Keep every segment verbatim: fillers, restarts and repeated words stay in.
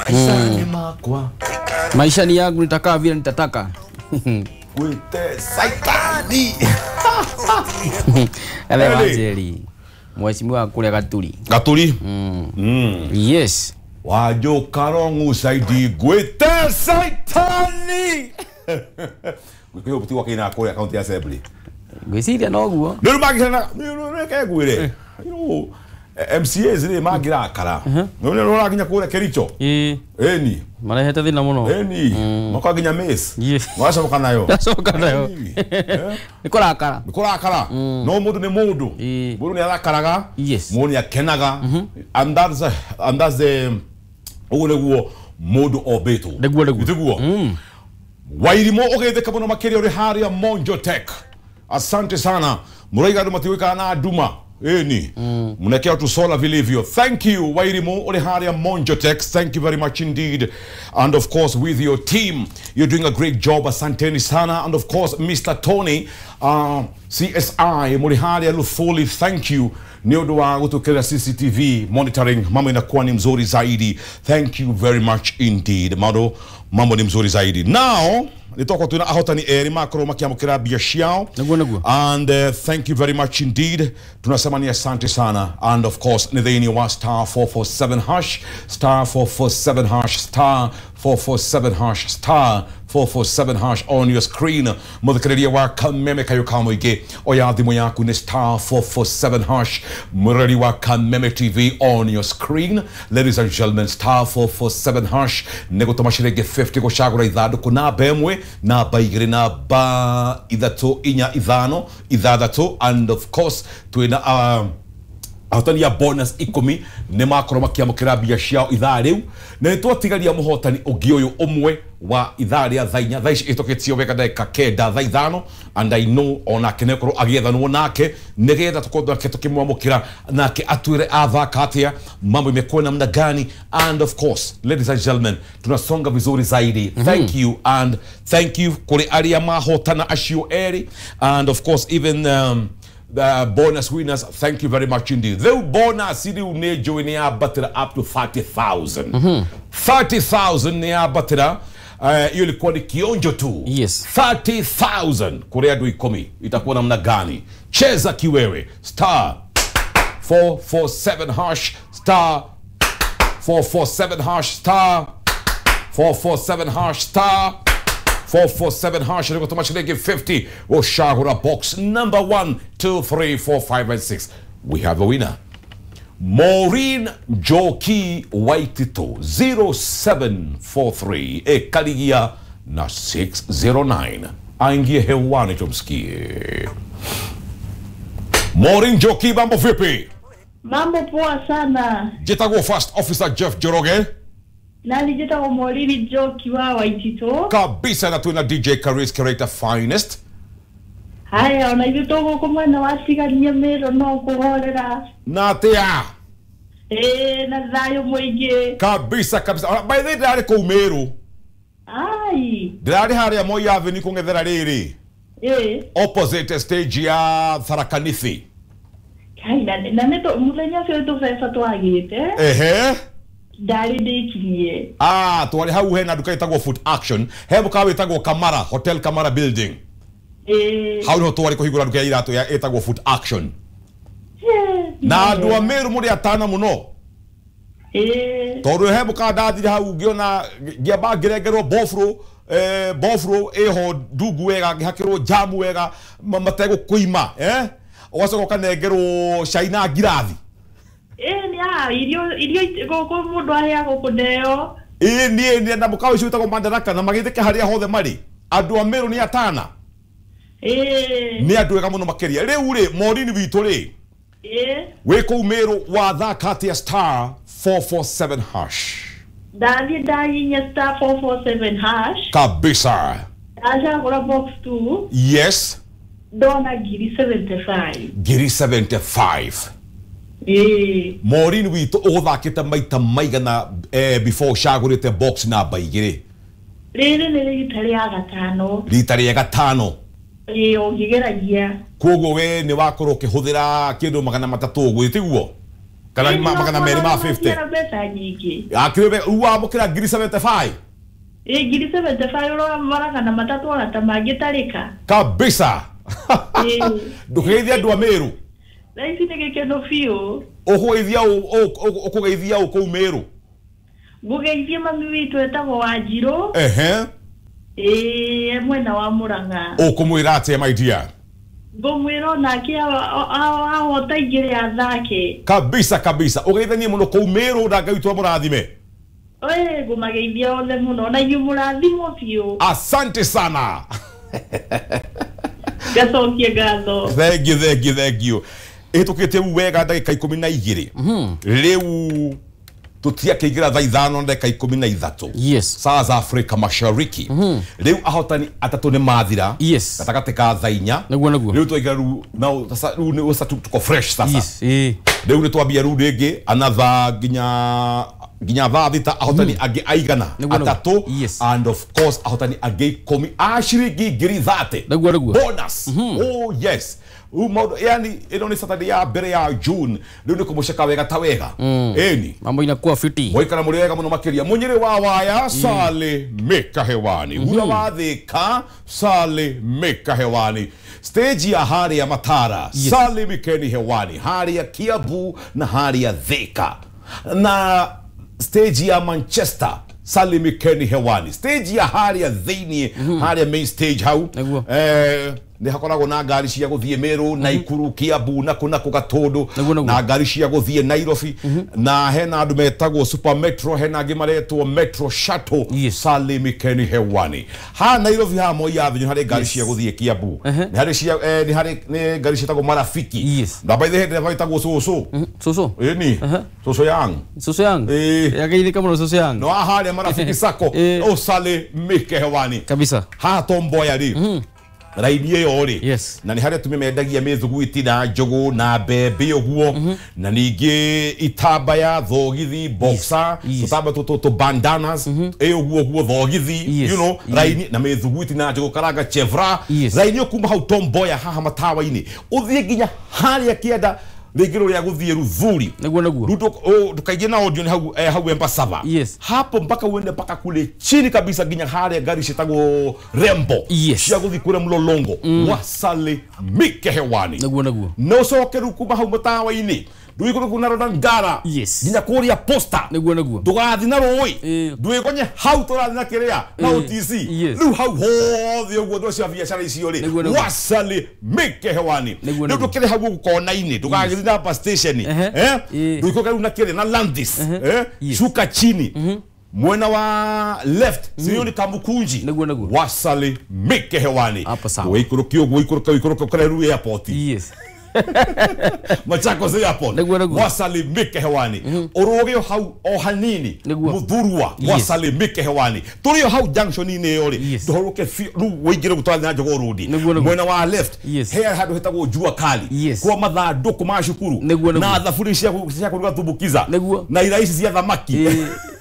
Mm. Maisha ni yangu, nitakaa vile nitataka. Gwite saitani. Ele Wanjeri. Mheshimiwa kule Gaturi. Gaturi? Mm. Mm. Yes. Wajo Karongu saidi gwite saitani. Gwite kuti wakina kule county assembly. Gwiciria noguo. Nĩ magirana nĩ kegwire. You know M C As nĩ magirakara. Nĩ nĩ ũrakinya kũrĩa Kericho. Ĩĩ. Ĩni. Marehete thĩna mũno. Ĩni. Makaginya miss. Wacoka nayo. Wacoka nayo. Nĩ kũrakara. Nĩ kũrakara. No mũndũ nĩ mũndũ. Mũndũ nĩ arakaraga. Mũndũ nĩ akenaga. And that's and that's the ũguo nĩguo mũndũ ombĩtwo. Nĩguo nĩguo. Nĩguo. Wairimu ũgeithĩka mũno makĩria ũrĩ harĩa Monjo Tech. Asante sana. Muraiga andũ matiũĩkaga na nduma. Eni. Mm. Mnekea tu sola vilivyo. Thank you Wairimu uri haria Monjo Tech. Thank you very much indeed. And of course with your team, you're doing a great job. Asanteni sana. And of course Mister Tony, uh, C S I muri haria Luthuli, thank you. Ni ũndũ wa gũtũkĩra C C T V monitoring, mambo inakuwa ni mzuri zaidi. Thank you very much indeed. Mambo mambo ni mzuri zaidi. Now nitoko tuna ahotani eri makorwo makiamukira mbia ciao. Niguo niguo. And uh, thank you very much indeed. Tunasema ni asante sana. And of course ni thĩinĩ wa star four four seven hash star four four seven hash star four four seven hash star four four seven hash on your screen. Muthikĩrĩria wa Kameme kayo ka mũingĩ, oya thimũ yaku nĩ star four four seven hash. Mũrori wa Kameme T V on your screen. Ladies and gentlemen, star four four seven hash nĩ gũtũma ciringi fifty gũcagũra ithandũkũ namba ĩmwe, namba igĩrĩ, namba ithatũ, inya, ithano, ithathatũ. And of course twĩna um, ahotani ya bonus ikũmi nĩ makorwo makĩamũkĩra mbia ciao ithaa rĩu, na nĩ twatigaria mũhotani ũngĩ ũyũ ũmwe wa ithaa rĩa thaa inya. Thaa ici ĩtũkĩtio wega ndagĩka kenda thaa ithano, and I know onake nĩ akorwo agĩethanwo nake nĩgetha tũkorwo nake tũkĩmwamũkĩra nake atwĩre athaka atĩa, mambo imekuwa namna gani. And of course ladies and gentlemen, tunasonga vizuri zaidi. Mm -hmm. Thank you, and thank you kũrĩ arĩa mahotana acio erĩ, and of course even um, the bonus winners, thank you very much indeed. The bonus riu nĩ njũĩ nĩ yambatĩra up to thirty thousand. Mm -hmm. thirty thousand nĩ yambatĩra. Hiyo uh, ilikuwa ni kionjo tu. Yes. thirty thousand kũrĩ andũ ikũmi. Itakuwa namna gani? Cheza kiwewe. Star four four seven hash star four four seven hash star four four seven hash star four four seven hash. Nĩ ciringi fifty ũcagũra box number one, two, three, four, five and six. We have a winner. Maureen Njoki Waitito zero seven four three ekaligia na six zero nine. Aingie hewani tumsikie. Maureen Njoki, mambo vipi? Mambo poa sana. Jitagwo First Officer Jeff Njoroge. Nani jitagwo Maureen Njoki wa Waitito. Kabisa, na tuna D J Karis Character Finest. Haya, ona ithuĩ tũgũkũ mwena wa Tigania Mĩrũ no kũhorera. Na atĩa? Ĩĩ, na thayũ mũingĩ. Kabisa kabisa. By the way, ndĩrarĩ kũu Mĩrũ. Ai. Ndĩrarĩ harĩa Moi Avenue kũng'ethera rĩrĩ. Ĩĩ. Opposite stage ya Tharaka Nithi. Kai, na na nĩ mũthenya ũcio tũbeca twagĩte. Ehe. Ndarĩ ndĩkinyie. Ah, twarĩ hau hena nduka ĩtagwo Food Action. He mũkawa wĩtagwo Kamara, Hotel Kamara Building. Eh. Hau niho twarĩ kũhingũra nduka ya iratũ ya ĩtagwo Food Action. Na andũ a Meru mũrĩ atana mũno. Eh. Tondũ he mũkawa ndathire hau ngĩona ngĩamba ngĩrengerwo bofro, eh, bofro ĩho ndungu wega, ngĩhakĩrwo jamu wega, mategũkũima, eh? Ũgacoka ũkanengerwo cai na ngirathi. Eh, nĩ a irio irio gũkũ mũndũ aheagwo kũneo. Ĩĩ, niĩ na mũkawa ũcio wĩtagwo Madaraka na magĩthĩke harĩa hothe marĩ. Andũ a Meru nĩ atana. Eh. Nĩ andũ ega mũno makĩria. Rĩu rĩ, Maureen witũ rĩ. Eh. Wĩ kũu Meru wathaka atĩa star four four seven hash? Ndathiĩ ndahihinya star four four seven hash. Kabisa. Ndacagũra box two. Yes. Ndona ngiri seventy five. Ngiri seventy five. Eh. Maureen witũ ũgũthakĩte maita maigana eh, before ũcagũrĩte box namba igĩrĩ? Rĩrĩ nĩ rita rĩa gatano. Rita rĩa gatano. Ĩĩ, ũngĩgeragia. Koguo we nĩ wakorwo ũkĩhũthĩra kĩndũ magana matatũ ũguo, tiguo? Kana magana merĩ ma fifty. Mbeca nyingĩ. Akĩrĩ rĩu wamũkĩra ngiri seventy-five. Ĩ ngiri seventy-five ũramaraga na matatũ ona ta mangĩtarĩka. Kabisa. Ndũkĩgeithia andũ a Meru. Thaa ici nĩ gĩkeno biũ. Ũkũgeithia ũkũgeithia ũ kũu Meru? Ngũgeithia mami witũ etagwo Wanjirũ. Ehe. Ĩ mwena wa Murang'a. Ũkũmwĩra atĩa my dear? Ngũmwĩra onake ahota igĩrĩ athake. Kabisa kabisa. Ũgeithanie mũno kũu Meru na Ngai witũ amũrathime. Ĩ ngũmageithia othe mũno na inyuĩ mũrathimwo biũ. Asante sana. Ngacokia ngatho. Thank you, thank you, thank you. Ĩhĩtũkĩte wega ndagĩka ikũmi na igĩrĩ. Rĩu tũtiakĩingĩra thaa ithano na ndagĩka ikũmi na ithatũ. Yes. Saa za Afrika Mashariki. Rĩu ahotani atatũ nĩ mathira. Yes. Gatagatĩ ka thaa inya. Nĩguo nĩguo. Rĩu twaingĩra rĩu now sasa rĩu nĩ sasa tuko fresh sasa. Yes. Eh. Rĩu nĩ twambia rĩu rĩngĩ another nginya nginya thaa thita ahotani angĩ aigana atatũ. Yes. And of course ahotani angĩ ikũmi a ciringi ngiri thate. Nĩguo nĩguo. Bonus. Oh yes. Umo yani ino ni Saturday ya mbere ya June rĩu nĩ kũmũceka wega ta wega. Ĩni mambo inakuwa fiti. Mwaikara mũrĩ wega mũno makĩria. Mũnyĩrĩ wa waya sale meka hewani. Gura wa Thika sale meka hewani. Stage ya harĩa Matara sale mikeni hewani. Harĩa Kiambu na harĩa Thika. Na stage ya Manchester sale mikeni hewani. Stage ya harĩa thĩinĩ harĩa main stage hau. Eh nĩ hakoragwo na ngari cia gũthiĩ Meru, Naikuru, Kiambu na kũ na kũ Gatũndũ na ngari cia gũthiĩ Nairobi na hena andũ metagwo Super Metro hena angĩ maretwo Metro Shuttle. Sale mikeni hewani. Ha Nairobi ha Moi Avenue harĩ ngari cia gũthiĩ Kiambu. Nĩ harĩ cia nĩ harĩ nĩ ngari ciĩtagwo Marafiki. Na by the way ndereba wĩtagwo Cũcũ. Cũcũ? Ĩni. Cũcũ yang. Cũcũ yang. Yageithĩka mũno Cũcũ yang. No harĩa Marafiki Sacco. O sale mike hewani. Kabisa. Ha Tomboya rĩ. Raini ĩyo rĩ. Yes. Na nĩ harĩa atumia mendagia mĩthuguiti na njũgũ na mbembe ũguo na ningĩ itambaya thogithi boxer tũtamba tũtũ tũ bandanas ĩ ũguo ũguo thogithi you know raini na mĩthuguiti na njũgũ karanga chevra raini kuma hau Tomboya haha matawa-inĩ ũthiĩ nginya harĩa kĩanda rĩngĩ rũrĩa gũthiĩ Ruthuri. Nĩguo nĩguo. Ndukaingie na audio ni hau hau Embasava. Yes. Hapo mpaka uende mpaka kule chini kabisa nginya harĩa ngari ciĩtagwo Rembo. Yes. Cia gũthiĩ kũrĩa Mlolongo. Wasale mike hewani. Nĩguo nĩguo. Na ũcoke rĩu kuma hau matawa-inĩ ndũgĩkũrũka na rora Ngara. Yes. Nginya kũrĩa Posta. Nĩguo nĩguo. Ndũgathiĩ na rũĩ. Ndwĩgonye hau tũrathiĩ na kĩrĩa na O T C. Rĩu hau hothe ũguo ndũ cia biacara icio rĩ. Wasale mike hewani. Rĩu ndũkĩrĩ hau gũkũ kona-inĩ ndũgagĩthiĩ na bus station. Eh? Ndũikũrũke rĩu na kĩrĩa na Landis. Eh? Shuka chini. Mwena wa left sio ni Kamukunji. Nĩguo nĩguo. Wasale mike hewani. Hapo sawa. Wĩikũrũke ũguo ikũrũke ikũrũke kũrĩa rĩu airport. Yes. Machakos airport. Wasale mike hewani. Ũrũge hau o hanini. Muthurwa wasale mike hewani. Tũrĩ o hau junction-inĩ ĩyo rĩ. Ndũhũrũke rĩu wĩingĩre gũtwara na Jogoo Road. Mwena wa left he handũ hetagwo Jua Kali. Kwa mathandũkũ ma cukuru na thaburi cia cia kũruga tumbukiza na ira ici cia thamaki.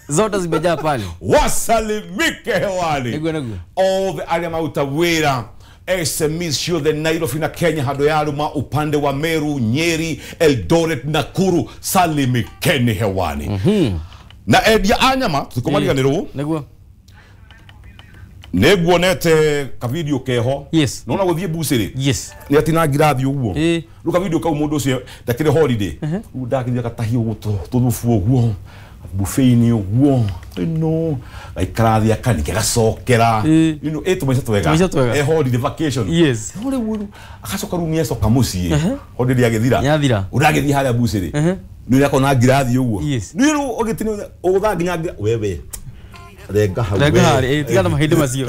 Zote zimejaa pale. Wasale mike hewani. Nĩguo nĩguo. Othe arĩa maruta wĩra S M Es ciothe Nairobi na Kenya handũ yaruma upande wa Meru, Nyeri, Eldoret, Nakuru salimikeni hewani. Na endia a nyama tũtikũmariganĩrwo. Nĩguo. Nĩnguonete ka video keho. Yes. Nona gũthiĩ bucĩrĩ. Yes. Nĩ atinangira thiĩ ũguo. Rĩu ka video kau mũndũ ũcio ndakĩrĩ holiday. Rĩu ndakĩthiĩ agatahia ũguo tũthubu ũguo. Buffet-inĩ ũguo. Ino gaikara thĩ akanike gacokera. You know, ĩ tũmaica twega. Tũmaica twega. E holiday vacation. Yes. No rĩu agacoka rĩu nĩacoka mũciĩ. Holiday agĩthira. Nĩathira. Ũragĩthiĩ harĩa bucĩrĩ. Nĩ ũrakona ngirathi ũguo. Yes. Nĩ rĩu ũgĩtini ũgũtha nginya wewe. Renga hau. Renga harĩ, tigana mahĩndĩ macio.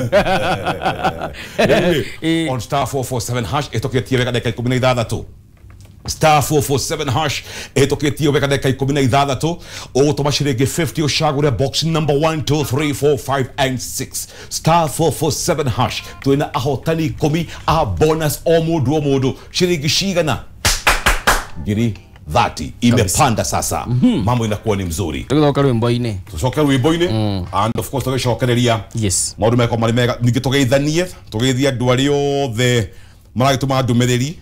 On star four four seven hash ĩtũkĩtie wega ndagĩka ikũmi na ithathatũ. Star four four seven hash ĩtũkĩtie wega ndagĩka ikũmi na ithathatũ. Ũgũtũma ciringi fifty ũcagũre box number one two three four five and six. Star four four seven hash twĩna ahotani ikũmi a bonus o mũndũ o mũndũ ciringi cigana ngiri thirty imepanda sasa. Mambo inakuwa ni mzuri. Tũgĩcoka rwĩmbo-inĩ. Tũcoke rwĩmbo-inĩ and of course tũgĩcokereria. Yes. Maũndũ meko marĩ mega ningĩ tũgeithanie tũgeithie andũ arĩa othe Maragĩtũma ndũmĩrĩri.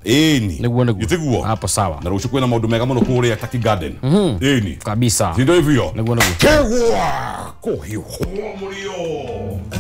Ĩni. Nĩguo nĩguo. Gĩtiguo. Hapo sawa. Na rũciũ kwĩna maũndũ mega mũno kũrĩa Taki Garden. Ĩni. Kabisa. Si ndio hivyo? Nĩguo nĩguo. Kegwa kũhiũhwo mũrio.